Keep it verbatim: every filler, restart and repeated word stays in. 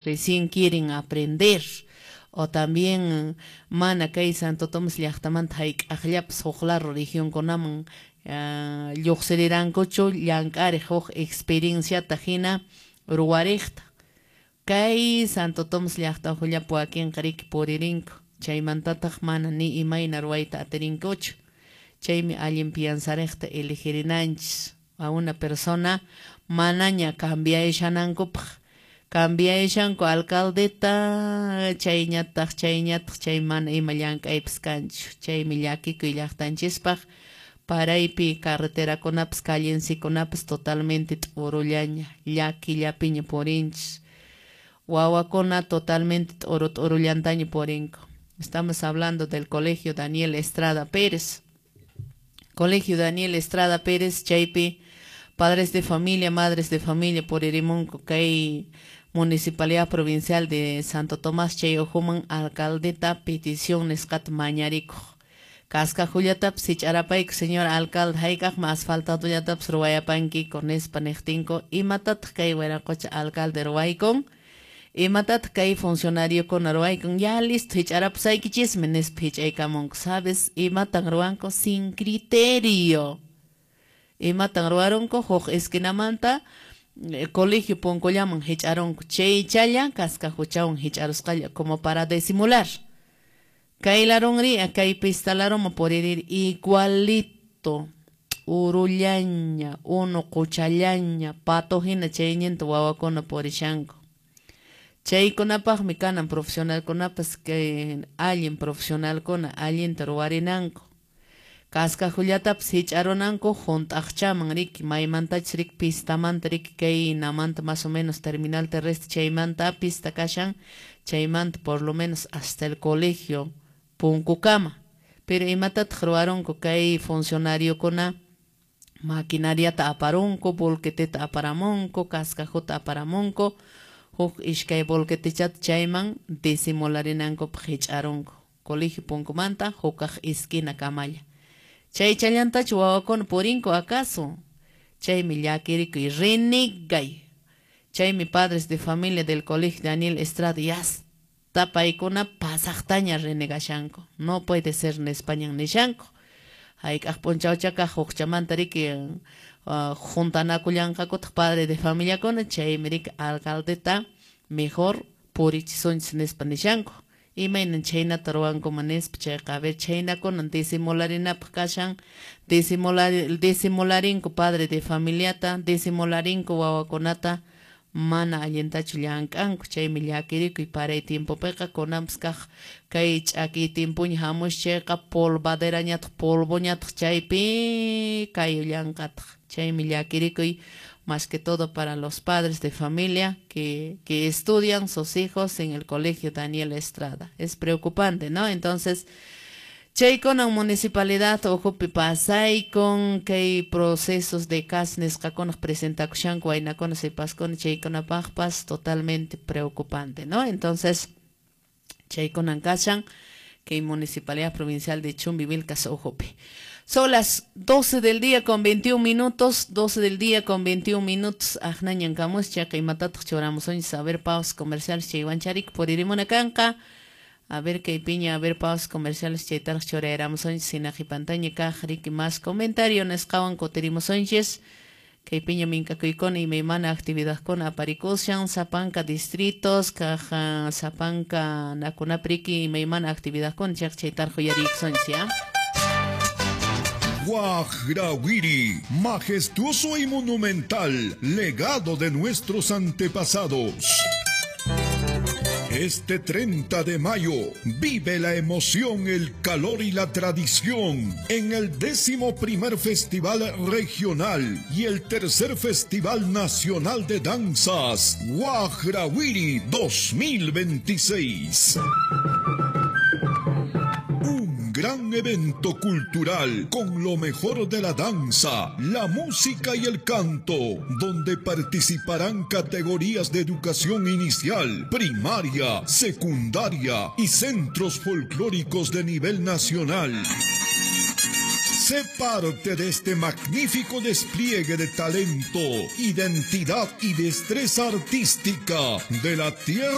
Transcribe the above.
Recién quieren aprender. O también mana kay Santo Tomás llaqtamanta hayk'aqllapas huk lado regionkunaman uh, lluqsirirankuchu llank'ariq huk experienciata hina ruwariqta. Kay Santo Tomás llaqta uhullapi wakinqa riki puririnku, chaymantataq mana ni imayna ruwayta atirinkuchu. Chaymi allin piansariqta eligirinanchis a una persona manaña cambiayshanankupaq. Cambiayshanku alcaldeta, chayñataq, chayñataq, chay mana ima llank'aypas kanchu. Chaymi llakikuy llaqtanchispaq, paraypi carreterakunapas, callencikunapas totalmente t'urullaña, llakillapiña purinchis. Wawakuna totalmente t'uru t'urullantaña purinku. Estamos hablando del Colegio Daniel Estrada Pérez. Colegio Daniel Estrada Pérez, chaypi padres de familia, madres de familia puririmunku kay Municipalidad Provincial de Santo Tomás chay uhuman alcaldeta petición nisqata mañarikuq. Kaskajullatapas hich'arapayku, señor alcalde, hayk'aqmi asfaltadullatapas ruwayapankiku nispa niqtinku, imatataq kay wiraqocha alcalde ruwaykun? Imatataq kay funcionariokuna ruwaykun? Ya listo, hich'arapusaykichismi nispa hich'aykamunku. ¿Sabes? Imatan ruwanku? Sin criterio. Imatan ruwarunku? Huk esquinamanta colegio punkullaman hich'arunku, chaychalla kaskajuchawan hich'arusqalla como para disimular. Kay larunri, kay pista laruma puririr igualito, urullaña, unu quchallaña, pato hina chayñinta wawakuna purishanku. Chaykunapaqmi kanan profesionalkunapas kay allin profesionalkuna allinta ruwarinanku. Kaskajullatapas hich'arunanku hunt'aqchaman riki, maymantachus riki pistamanta riki kay namanta más o menos terminal terrestre chaymanta pista kashan, chaymanta por lo menos hasta el colegio punkukama. Pero imatataq ruwarunku kay funcionariokuna? Maquinariata aparunku, volqueteta aparamunku, kaskajuta aparamunku, huk iskay volquetechata chayman disimularinankupaq hich'arunku. Colegio punkumanta hukaq esquina kamalla. Chaychallantachu wawakuna purinku acaso? Chaymi llakirikuy, renegay. Chaymi padres de familia del Colegio Daniel Estrada yasta paykuna pasaqtaña renegashanku. No puede ser nispañan nishanku. Hayk'aq p'unchawchakaq hukchamanta riki uh, juntanakullanqakutaq padre de familiakuna, chaymi riki alcaldeta mejor purichisunchis nispa nishanku. Imaynan chhaynata ruwankuman nispa chayqa, a ver, chhaynakunan disimularinapaq kashan, disimular, disimularinku padre de familiata, disimularinko wawakunata, mana allintachu llank'anku. Chaymi llakirikuy paray tiempopiqa kunanpas kaq kay ch'akiy tiempoña hamush chayqa polvaderañataq polvoñataq chaypi kayullanqataq. Chaymi llakirikuy más que todo para los padres de familia que, que estudian sus hijos en el Colegio Daniel Estrada. Es preocupante, ¿no? Entonces, chaykunan municipalidad uhupi pasaykun kay procesos de C A S nisqakunaq presentakushanku waynakuna sipaskuna chaykunapaqpas totalmente preocupante, ¿no? Entonces, chaykunan kashan kay Municipalidad Provincial de Chumbivilcas uhupi. Son las doce del día con veintiún minutos, doce del día con veintiún minutos. Ajnañan kamus, chaqa imatataq churamusunchis, a ver pausas comerciales chaywancharik puririmuna kanqa. A ver kay piña, a ver pausas comerciales chaytaraq churayaramusunchis, sinaqipantaña kaq riki más comentario nisqawan kutirimusunchis. Kay piña minkakuykuna imaymana actividadkuna aparikushan, sapanka distritos, kaq sapanka nakunapi imaymana actividadkuna chaq chaytaraq uyariykusunchis, ¿ya? Guajrawiri, majestuoso y monumental, legado de nuestros antepasados. Este treinta de mayo, vive la emoción, el calor y la tradición en el décimo primer Festival Regional y el tercer Festival Nacional de Danzas, Guajrawiri dos mil veintiséis. Un gran evento cultural con lo mejor de la danza, la música y el canto, donde participarán categorías de educación inicial, primaria, secundaria y centros folclóricos de nivel nacional. Sé parte de este magnífico despliegue de talento, identidad y destreza artística de la tierra.